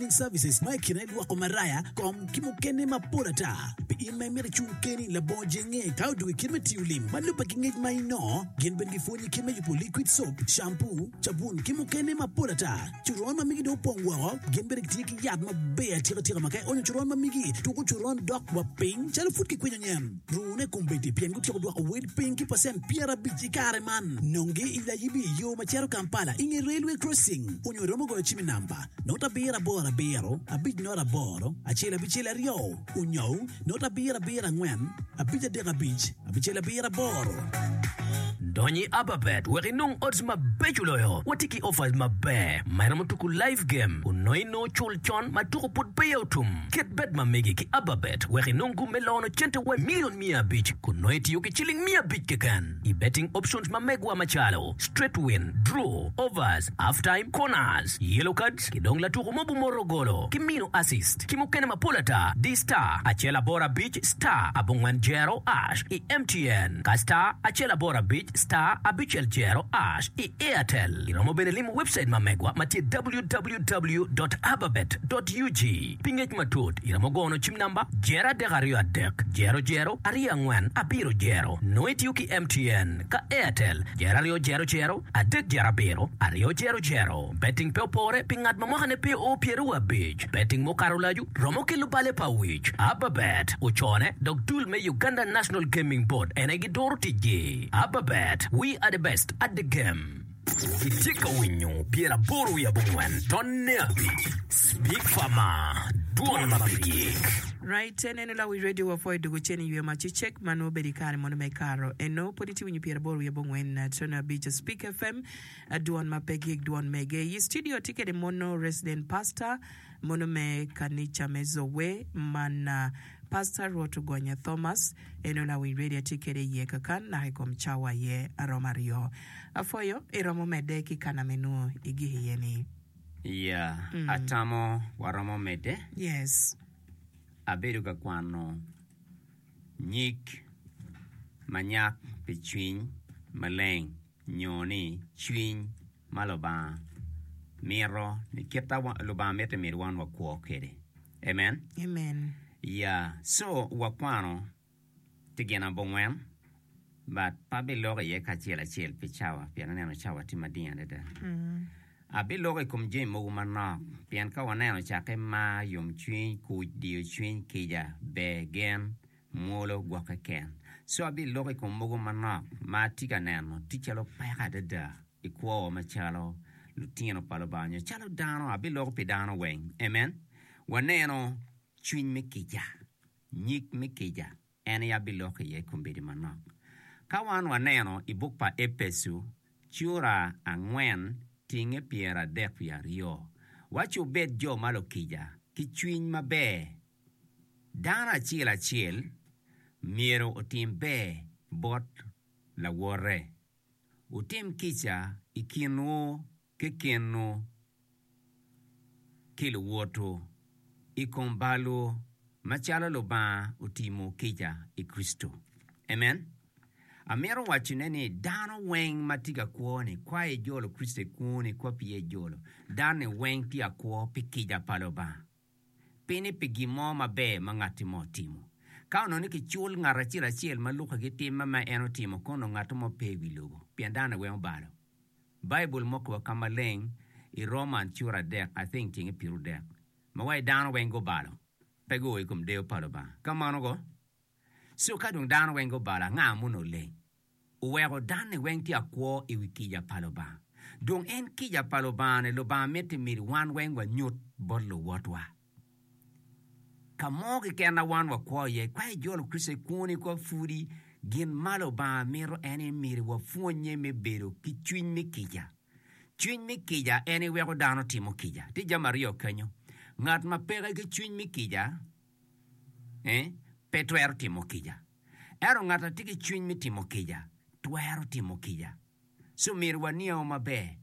Cleaning Services ma i kine lwoko maraya, kom, ki mukene mapol ata. Pi in ma imito icung keni labongo jenge ka odwogo i kit me tiyo lim ma lubbe ki ngec ma inongo, gin bene gipwonyi kit me yubo liquid soap, shampoo, cabun ki mukene mapol ata. Coron ma migi dong opong woko, gin bene gitye ki yat maber atika tika ma ka ionyo coron ma migi, tuko coron dok wa piny calo pud kikwinyo nyen. Rune kombeddi pien gutyeko dwoko wel piny ki pacent 50 i kare man. Nongi i Layibi i yo ma cito Kampala i nge Railway Crossing onyo iromo goyo cim i namba, not abiro aboro abiro, abic not aboro, acel abicel aryo, onyo not abiro abiro angwen, abic adek abic, abicel abiro aboro. Dony i Ababet wek inong odds mabeco loyo. Watye ki offers maber ma iromo tuku live game kun nongo inongo cul con ma tuku pud peya otum. Ket bet ma megi ki Ababet wek inong gum me lono cente wa milion 500 kun nongo itiyo ki ciling 500 keken i betting options ma megwa macalo, straight win, draw, overs, half time, corners, yellow cards ki dong latuku mo bumoto golo ki mino assist ki mukene mapol ata. Di star acel aboro abic star abongwen jero ash i MTN ka star acel aboro abic star abicel jero ash i Airtel. Iromo bene limo webcait ma megwa ma tye www dot ababet dot ug. Pi ngec matut, iromo gono cim namba jero adek aryo adek jero jero aryo angwen abiro jero. Nongo itiyo ki MTN ka Airtel jero aryo jero jero adek jero abiro aryo jero jero. Betting pe opore pi ngat ma mwakane pe oo pyeraryo abic. Betting mukato olacu romo kelo bale pa wic. Ababet ocone dok dul me Uganda National Gaming Board en aye giduro ticgi. Ababet, we are the best at the game. Itye ka winyo 85 tonne abic Speak Farmer, Dwon ma pe gik. Right, eneno lawi radio wa pwoyo dugu cen i ywe ma cecek ma nongo bedo i kare mono me karo eno pwod itye winyo 84 5 Speak FM dwon ma pe gik dwon mege i studio tye kede mono resident pastor mono me kanica me Zoe man Pastor Rwot Ogonya Thomas eno lawiny radio atye kede iye kakan naka ikom cawa aye aromo aryo. Apwoyo iromo mede ki kana me nwo igik iye ni. Iya, atamo waromo medde. Yes. Abedo ka kwano nyig ma nyak pi cwiny maleng nyo ni cwiny ma Lubanga mito ni kit ma Lubanga mito ni myero wan wakwo kwede. Amen. Amen. Ya, so wakwano tye gin abongwen but pe abiloko iye kacel acel pi cawa pien aneno cawa tye mading adada. Abiloko i kom jami mogo manok pien ka waneno cakke mar, yomcwiny, kuc, diyo cwiny, kica, ber, gen, mwolo, gwokke ken. So abiloko i kom mogo manok ma atye ka neno tye calo peko adada i kwowa macalo lutino pa Lubanga nyo calo dano. Abiloko pi dano weng. Amen. Waneno cwiny me kica, nyig me kica, en aye abiloko iye i kombeddi manok. Ka wan waneno i buk pa Epeco cura angwen tinge pyeradek wiye aryo, waco wubed jo ma lukica ki cwiny maber. Dano acel acel myero otim ber bot lawote. Wutim kica i kinwu kekenwu ki luwotwu i kom balwu, macalo Lubanga otimo kica i Kricito. Amen. Amito wacone ni dano weng ma tye ka kwo-ni, kwa ijolo Kricito i kwoni, kwa peya ijolo, dano-ni weng tye ka kwo pi kica pa Lubanga. Pi ni pi gin mo maber ma ngatti mo otimo. Ka onongo ni kicul ngat acel acel ma lukke ki timme ma en otimo, kono onongo ngat mo pe i wi lobo, pien dano-ni weng obalo. Baibul mokowa ka maleng i Roman cura adek, I think tyenge pirodek, ma waci dano weng gubalo, pe guo i kom deyo pa Lubanga. Ka mano go, so ka dong dano weng gubalo, anga ma onongo leng? Oweko danni weng tye akwo i wi kica pa Lubanga. Dong en kica pa Lubanga-ni, Lubanga miti myero wan weng wanyut bot luwotwa. Ka mo keken ma wan wakwo iye, ka ijolo Kricito i kwoni kwa pudi, gin ma Lubanga mito en ni myero wapwonnye me bedo ki cwiny me kica. Cwiny me kica en aye weko dano timo kica. Tye jami aryo kenyo. Ngat ma peke ki cwiny me kica pe twero timo kica. Ento ngat ma tye ki cwiny me timo kica twero timo kica. Co myero waniango maber.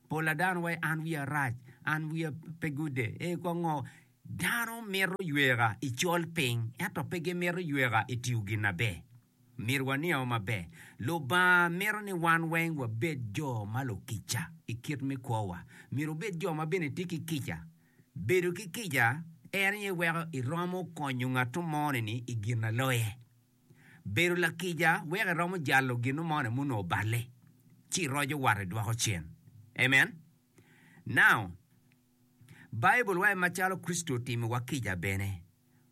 Pol a dano waci an wiya rac, an wiya pe gude, ee kong ngo. Dano mito yweka i col piny ento pe gimito yweka i tiyo gin maber. Myero waniango maber. Lubanga mito ni wan weng wabed jo ma lukica i kit me kwowa. Myero wabed jo ma bene tye ki kica. Bedo ki kica en aye weko iromo konyo ngat moni-ni i gin aloye. Bedo lakica weko iromo jalo gin moni ma onongo oballe ci iroco wat idwoko cen. Amen. Now, Baibul waco macalo Kricito otimiwa kica bene,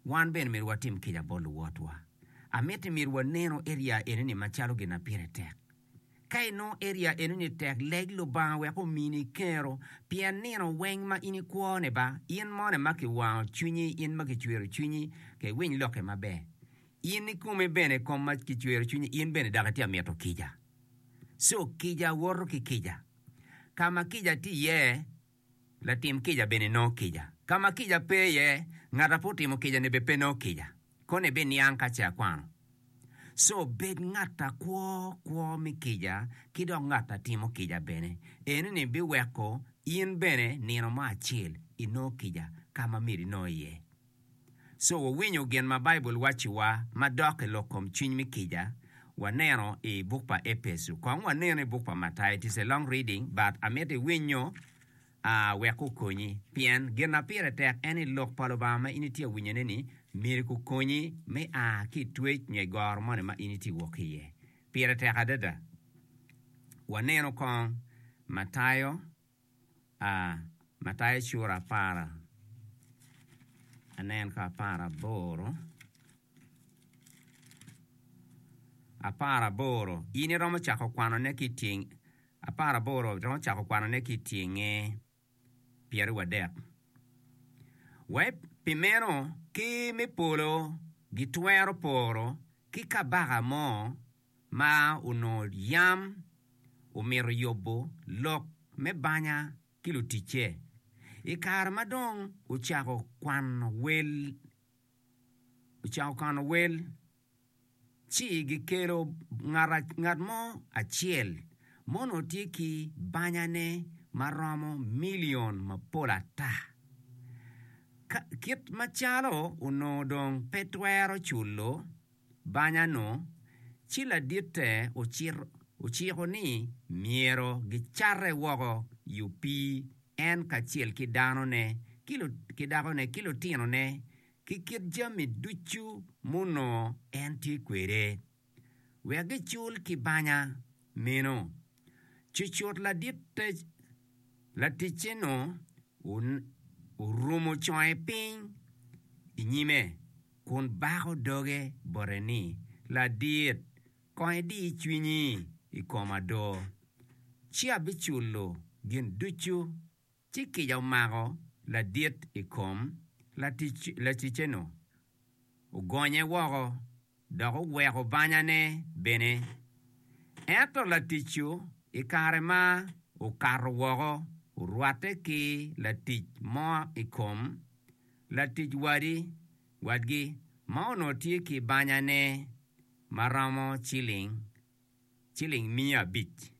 wan bene myero watim kica bot luwotwa. Amiti myero wanenu area eni-ni macalo gin ma pire tek. Ka inongo area eno-ni tek, leg Lubanga wek omini kero, pien nino weng ma in ikwo-ni ba, in moni ma kiwango cwinyi, in ma kicwero cwinyi, ke iwiny lokke maber. In ikomi bene kom ma kicwero cwinyi, in bene dok itye ka mito kica. Co, kica woto ki kica. Ka ma kica tye iye, latim kica bene nongo kica. Ka ma kica pe iye, ngat a pe otimo kica-ni bene pe nongo kica. Kono ibiniang ka ce akwano. Co, bed ngat a kwo kwo me kica ki dok ngat a timo kica bene. Enoni biweko in bene nino mo acel inongo kica ka ma myero inong iye. Co, wawinyo gin ma Baibul wacciwa madok i lok kom cwiny me kica, waneno i buk pa Epeco. Kong wanenu i buk pa Matayo. It is a long reading, but amito iwinyo wek okonyi. Pien gin ma pire tek en ni lok pa Lubanga ma in itye ka winyone-ni myero okonyi me a ki i twec nyo i goro moni ma in itye ka wok ki iye. Pire tek adada. Wanenu kong Matayo. A Matayo cura apar anen ka aparaboro, aparaboro in iromo cako kwanone ki i tyeng aparaboro iromo cako kwanone ki i tyenge pyeraryo Wek pi meno ker me polo gitwero poro ki kabaka mo ma onongo yam omito yubo lok me banya ki luticce. I kare ma dong ocako kwano wel, ocako kwano wel, ci gikelo ngat mo acel ma onongo tye ki banyane ma romo milion mapol ata. Kit macalo onongo dong pe twero culo banya-nu, ci laditte ociko ni myero gicate woko i opii, en kacel ki danone, ki dakone, ki lutinone, ki kit jami ducu munongo en tye kwede, wek gicul ki banya meno. Cucut laticce-nu orumo conge piny i nyime. kun bako doge bote ni, Ladit, kong idi cwinyi i koma do, ci abiculo gin ducu. Ci kica omako ladit i kom laticce-nu, ogonye woko, dok oweko banyane bene. Ento latic-cu i kare ma okato woko, orwatte ki latic mo i kom Latic wadi wadgi ma onongo tye ki banyane ma romo ciling ciling 500,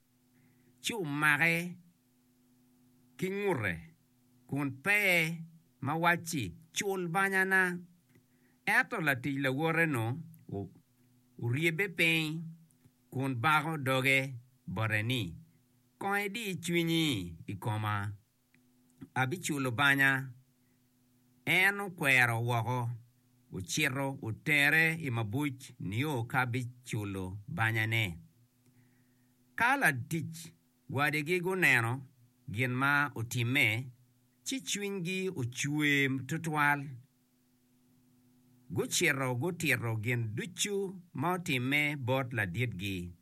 ci omake ki ngute kun pe ma wacci, 'Cul banyana. Ento latic lawote-nu oryebbe piny kun bako doge bote ni, 'Kong idi cwinyi i koma. abiculo banya. En okwero woko, ocito otere i mabuc nio ka biculo banyane. Ka latic wadigi guneno gin ma otimme, ci cwinygi ocwer twatwal. Gucito gutito gin ducu ma otimme bot laditgi.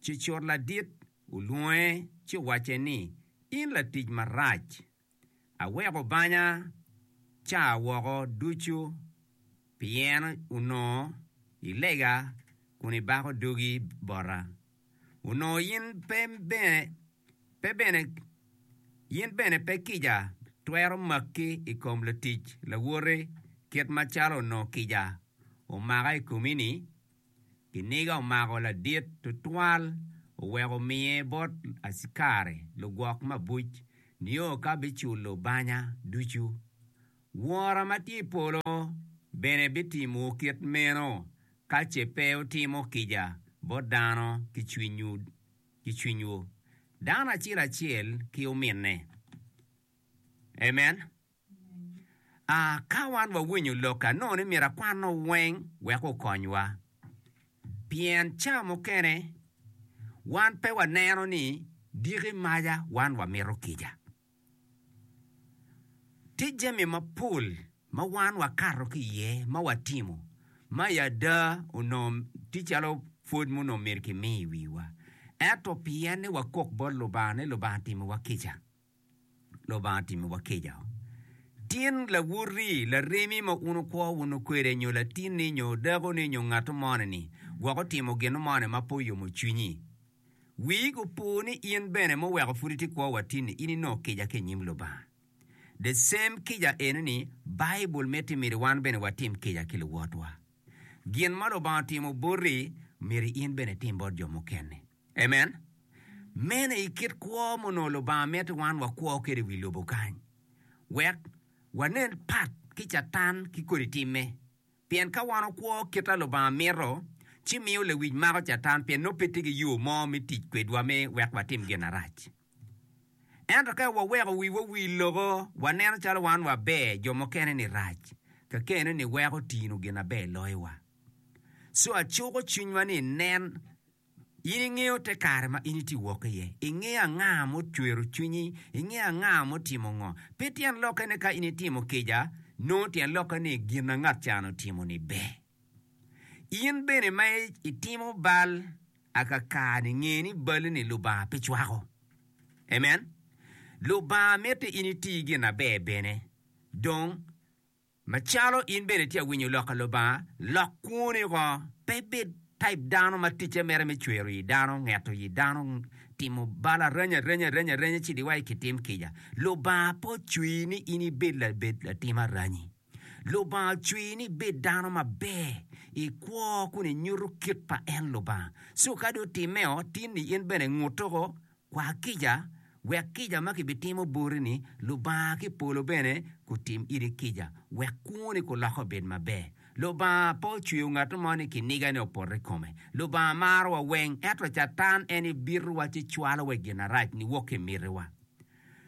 Cucut ladit olwonge ci owacce ni, 'In latic marac! Aweko banya ca woko ducu pien onongo ilega kun ibako dogi bota. Onongo in bene pe kica twero maki i kom latic lawoti kit macalo onongo kica omaka i komi-ni? Kiniga omako ladit tutwal oweko omiye bot acikari lugwok mabuc nio ka biculo banya ducu. Wora ma tye i polo bene bitimowu kit meno ka ce pe wutimo kica bot dano ki cwinywu, dano acel acel ki ominne. Amen. Aa, ka wan wawinyo lok anongo ni myero akwanno weng wek okonywa. Pien ca mukene wan pe waneno ni diki maca wan wamito kica. Tye jami mapol ma wan wakato ki iye ma watimo ma i ada onongo tye calo pwod ma onongo myero kimi i wiwa. Ento pien ni wakok bot Lubanga ni Lubanga otimowa kica, Lubanga otimowa kica. Tin lawoti, laremi ma wun wukwo wunu kwede nyo latinni nyo dakoni nyo ngat moni-ni gwok otimo gin moni ma pe oyomo cwinyi. Wii opo ni in bene muweko pud itye kwo wa tin-ni in inongo kica ki i nyim Lubanga. The same kica eno-ni Baibul miti myero wan bene watim kica ki luwotwa. Gin ma Lubanga otimo boti myero in bene itim bot jo mukene. Amen. Meno aye kit kwo ma onongo Lubanga mito wan wakwo kwede i wi lobo kany wek wanen pat ki Catan ki kodi timme. Pien ka wan okwo kit a Lubanga mito, ci miyo lewic mako Catan pien nongo pe tye ki yo mo me tic kwedwa me wek watim gin marac. Ento ka waweko wiwa wil loko, waneno calo wan waber, jo mukene ni rac, kakene ni weko tino gin aber loyowa. Co acuko cwinywa ni nen In ingeyo te kare ma in itye wok iye. Ingeyo anga mucwero cwinyi. Ingeyo anga mutimo ngo. Pe tyen lokke ni ka in itimo kica, nongo tyen lokke ni gin ma ngat ca otimo-ni ber. In bene ma itimo bal akaka-ni, nge ni balli-ni Lubanga pe cwako. Amen. Lubanga miti in iti gin aber bene. Dong, Macalo in bene itye ka winyo lok pa Lubanga, lok kwoni oko. Pe ibed type dano ma ticce mere me cwero yi dano, ngeto yi dano, timo bal arenya arenya arenya arenya ci di wai kitim kica. Lubanga pe ocweyi ni in ibed labed latim aranyi. Lubanga ocweyi ni ibed dano maber i kwo kun inyuto kit pa en Lubanga. So ka dong otimmeo, tin ni in bene ngut oko Kwa kica, wek kica ma kibitimo boti-ni, Lubanga ki i polo bene gutim iri kica, wek kwoni kulokke obed maber. Lubanga pe ocweyo ngat mo ni kinigane opot i kome. Lubanga marowa weng, ento Catan en ibitowa ci cwalowa i gin marac niwok ki i mitiwa.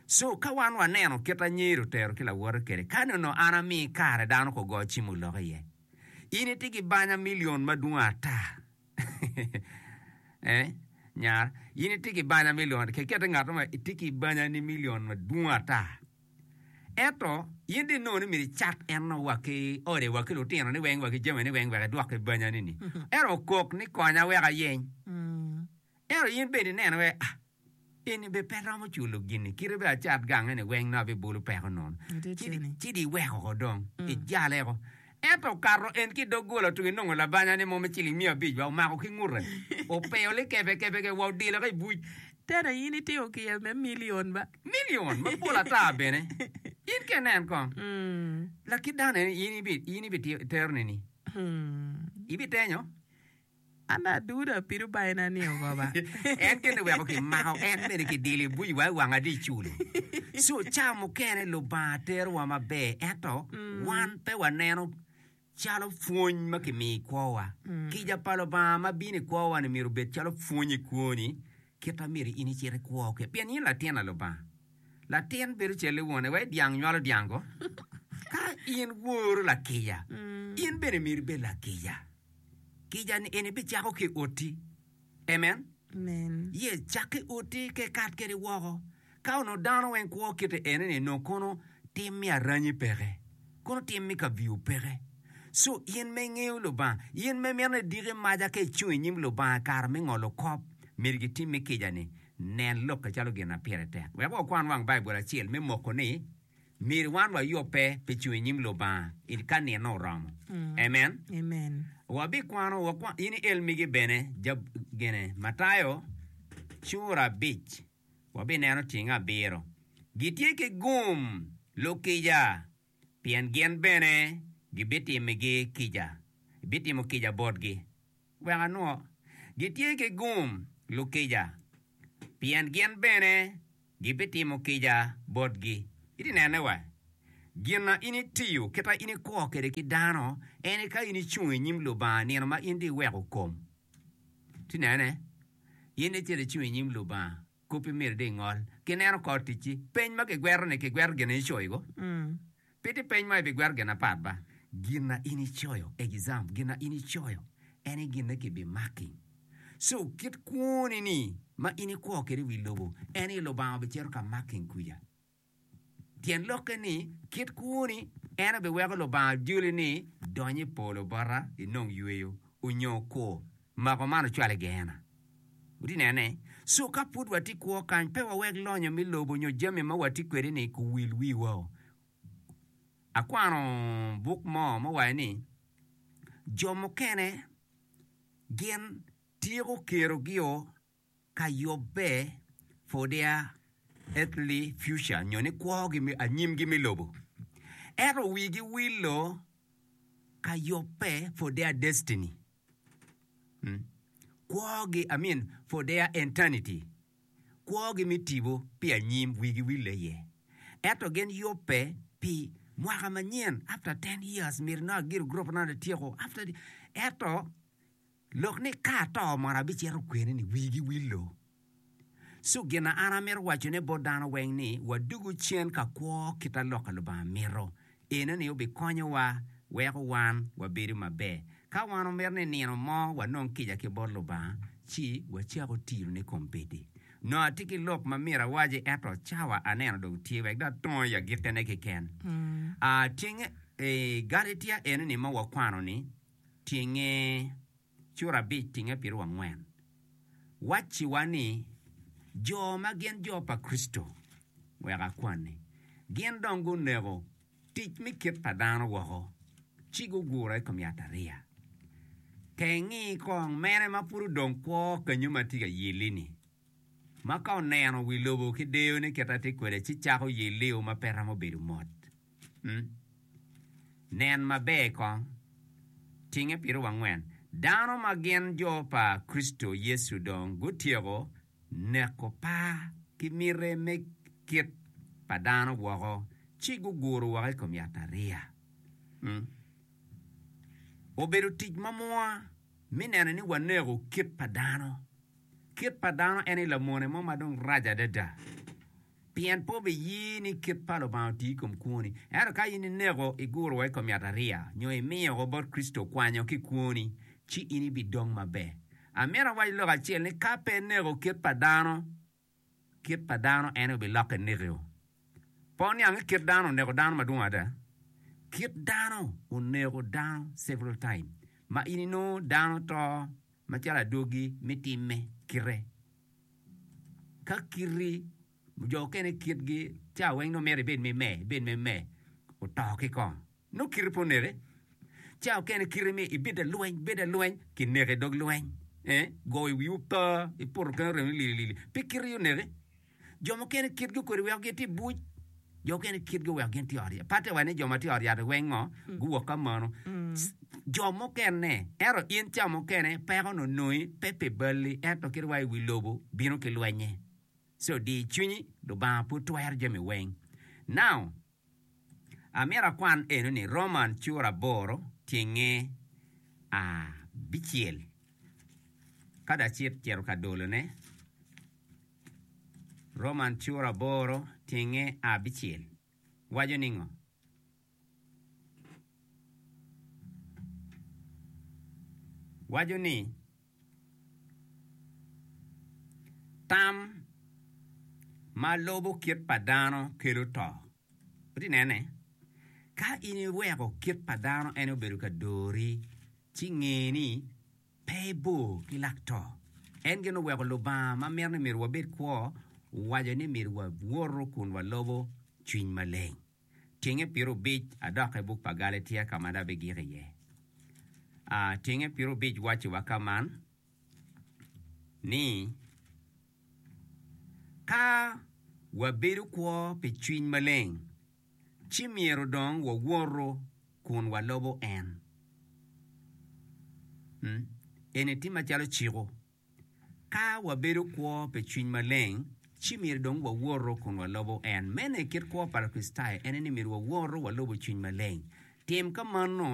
Co, ka wan waneno kit a Nyeri otero ki lawote kwede, kani onongo an ami kare dano kugo cim olok iye. In itye ki banya milion madwong ata. Eh, nyara, in itye ki banya milion, kekete ngat mo itye ki banya ni milion madwong ata. Ento, in dong inongo ni myero icat en wa ki ode wa ki lutino ni weng wa ki jami ni weng wek idwok ki banya ni ni. Ento okok ni konya wek ayeny. Ento in bene ineno wek ah, Eni bene pe romo culo gin-ni, kite bene acat gange-ni weng nongo abibolo peko nono. Ci di iweko oko dong, ijale oko. Ento okato en ki i doggola otugo inongo labanya-ni mo me ciling miya abic wa omako ki ngute, opeyo likebe kebe wa odilo ki i buc. Tena in itimo kica me milion ba? Milion mapol ata bene. In ka inen kong, lakit dano eni in ibitero nini? Ibitenyo? An aduda pido baina ni ogoba. En kene weko kimako en bene kidilo i buc wa i wang adi culo. So ca mukene Lubanga terowa maber ento wan pe waneno calo pwony ma kimiyo i kwowa. Kica pa Lubanga ma bino i kwowa ni myero obed calo pwony i kwoni kit ma myero in icit ikwo kwede pien in latin a Lubanga. Latin bedo cal i wone wai dyang nywalo dyang ko. Ka in woro lakica in bene myero ibed lakica. Kica-ni eni bicako ki i oti. Amen. Amen. Yes, cak ki i oti ka ikat kwede woko. Ka onongo dano weng kwo kite eni-ni, onongo kono tim me aranyi peke, kono tim me kaviu peke. So, in ma ingeyo Lubanga, in ma imito ni idiki maca ka icung i nyim Lubanga i kare me ngolo kop, myero gitimmi kica-ni. Nen lokke calo gin ma pire tek. Wek wakwan wang Baibul acel me moko ni Myero wan wayubbe pi cung i nyim Lubanga i ka nino oromo. Amen. Amen. Wabikwano, wakwan, in iel migi bene, jab, gine, Matayo cura abic, wabineno tyeng abiro. Gitye ki gum lukica, pien gin bene gibitimigi kica, ibitimo kica botgi. Wek anwo, gitye ki gum lukica, pien gin bene Gibitimo kica botgi. Itye nene wa, gin ma in itiyo, kit ma in ikwo kwede ki dano, en aye ka in icung i nyim Lubanga nino ma in dong iweko kom. Itye nene, in icito icung i nyim Lubanga, koppi myero dong ingol. Kineno kor ticci, peny ma kigweto-ni, kigweto gin ma icoyo-go. Pe tye peny ma ibigwero gin apat ba. Gin na in icoyo, exam, gin na in icoyo en aye gin ma kibimaki. So kit kwoni ni ma in ikwo kwede i wi lobo en aye Lubanga obicito ka making kuca. Tyen lokke ni, kit kwoni en aye biweko Lubanga joli ni dony i polo bota inong yweyo onyo kur mako man ocwal i Geena. Wutye nene? So ka pud watye kwo kany, pe wawek lonyo me lobo nyo jami ma watye kwede-ni kuwil wiwa. Akwano buk mo ma owaco ni, Jo mukene gin tyeko kerogio ka yubbe for their earthly future nyo ni kwogi me anyimgi me lobo, ento wigi wilo ka yubbe for their destiny. Kwogi, I mean for their eternity, kwogi me tipo pi anyim wigi wille iye. Ento gin yubbe pi mwaka manyen after ten years myero nongo agiro gurup na atyeko after ento lok ni ka ato mono abicito kwene ni wigi willo. So gin na an amito wacone bot dano weng ni wadugu cen ka kwo kit a lok a Lubanga mito. Enoni obikonyowa weko wan wabedo maber. Ka wan omito ni nino mo wanong kica ki bot Lubanga, ci wacako tiyone kombeddi. Nongo atye ki lok ma myero awaci ento cawa aneno dong tye wek dong atongo i agikkine keken. Ah, tyenge i Galatia enoni ma wakwano-ni, tyenge cura abic tinge pyerangwen wacciwa ni jo ma gin jo pa Kricito, wek akwanni, gin dong guneko tic me kit pa dano woko ci gugure i kom yatariya. Kengi kong mene ma pud odong kwo kenyo ma tye ka yelli-ni, ma ka oneno wi lobo ki deyone kit a tye kwede ci cako yellio ma pe romo bedo mot. Nen maber kong, tinge pyerangwen. Dano ma gin jo pa Kricito Yecu dong gutyeko neko par ki miti me kit pa dano woko ci guguro woko i kom yatariya. Obedo tic mamwa me neno ni waneko kit pa dano. Kit pa dano en aye lamone mo ma dong rac adada. Pien pe obiye ni kit pa Lubanga oti i kom kwoni. Ento ka in ineko iguro wa i kom yatariya, nyo imiyo woko bot Kricito okwanyo ki i kwoni, ci in ibidong maber. Amito awac lok acel ni ka pe ineko kit pa dano, kit pa dano en aye obilokke nekio. Pe wuniang ni kit dano oneko dano madwong ada? Kit dano oneko dano several time ma in inongo dano to macalo adwogi me timme kite. Ka kiti, jo okene kitgi ca weng nongo myero ibed me me, ibed me me, oto ki kong. Nongo kiti pe oneke. Ca okene kiti ni ibed lalweny, ibed lalweny, kineki i dog lweny. Eh, goyo wiyi opa, iputo kene remo lili lili. Pe kiti oneki. Jo mukene kitgi okodi weko gin tye i buc, jo mukene kitgi oweko gin tye i ot yat. Patte wa ni jo ma tye i ot yat weng ngo, guwok ka mano. Jo mukene, ento in ca mukene peko ni onongi pe pi balli ento kit wa i wi lobo bino ki lwenye. So di cwinyi, Lubanga pud twero jami weng. Now, Amito akwan eno ni Roman cura aboro tyenge abicel ka dong acit cito ka dolone. Roman cura aboro tyenge abicel waco ningo? Waco ni, Tam ma lubo kit pa dano kelo to. Wutye nene? Ka in iweko kit pa dano en obedo ka dori, ci nge ni pe ibor ki lak to. En gin oweko Lubanga ma mito ni myero wabed kwo owaco ni myero wawoto kun walobo cwiny maleng. Tyenge pirobic adok i buk pa Galatia ka ma dong abigik iye. A Tyenge pirobic wacciwa ka man ni, Ka wabedo kwo pi cwiny maleng, ci myero dong wawoto kun walobo en. Eni tye macalo ciko. Ka wabedo kwo pi cwiny maleng, ci myero dong wawoto kun walobo en. Meno aye kit kwo pa Lakricitayo, en aye ni myero wawoto walobo cwiny maleng. Tim ka mano.